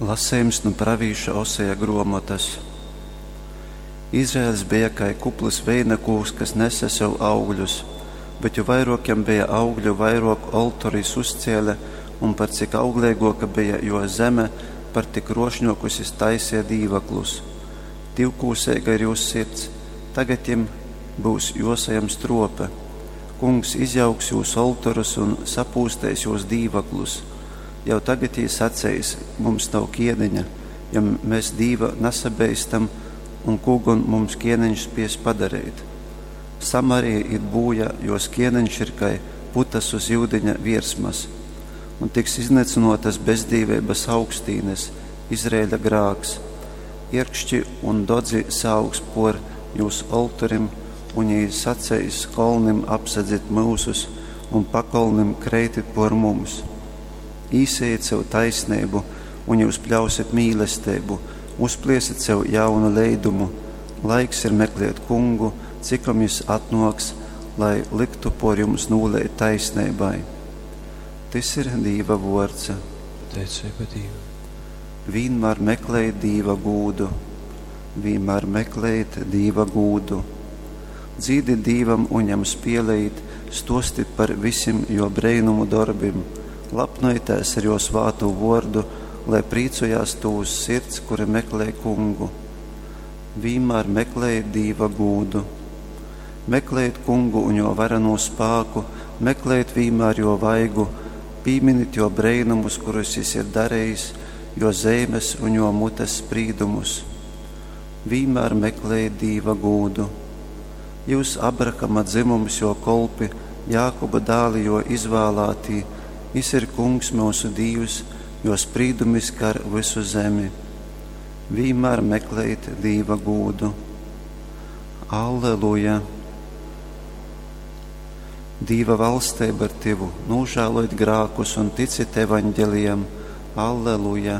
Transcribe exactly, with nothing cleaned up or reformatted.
Lasejums nu pravīša Oseja gruomotas. Izraels beja kai kupls veinakūks, kas nese sev augļus, bet jo vairuok jam beja augļu, vairuok oltoru jis uzcēle, un par cik augleiguoka beja juo zeme, par tik kruošņuokus jis taiseja dīvaklus. Divkūseiga ir jūs sirds, tagad jim byus juosajam struope. Kungs izjauks jūs oltorus un sapūsteis jūs dīvaklus. Jau tagad jī saceis: Mums nav kieneņa, jo mes Dīva nasabeistam, un kū gon mums kieneņš spies padareit? Samarija īt būjā, jos kieneņš ir kai putas uz yudiņa viersmas, un tiks iznycynuotas bezdīveibas augstīnes, Izraeļa grāks. Ierkšķi un dodzi saaugs puor jūs oltorim, un jī saceis kolnim: Apsedzit myusus, un pakolnim: Kreitit puor mums! Īsejit sev taisneibu, un jyus pļausit mīlesteibu, uzpliesit sev jaunu leidumu. Laiks ir meklēt kungu, cikom jis atnuoks, lai lyktu puor jums nūleit taisneibai. Tys ir Dīva vuords. Pateiceiba Dīvam. Vīnmār meklejit Dīva gūdu, vīnmār meklejit Dīva gūdu. Dzīdit Dīvam un jam spielejit, stuostit par visim juo breinumu dorbim. Lapnojitēs ar juo svātū vuordu, lai prīcojās tūs sirds, kuri meklej kungu. Vīnmār meklejit Dīva gūdu. Meklejit kungu un juo varenū spāku, meklejit vīnmār juo vaigu, pīminit juo breinumus, kurus jis ir darejis, juo zeimes un juo mutes sprīdumus. Vīnmār meklejit Dīva gūdu. Jyus, Abrahama dzymums, juo kolpi, Jākuba dāli, juo izvālātī, jis ir Kungs myusu Dīvs, juo sprīdumi skar vysu zemi. Vīnmār meklejit Dīva gūdu. Alleluja! Dīva valsteiba ir tyvu, nūžālojit grākus un ticit evaņgelijam. Alleluja!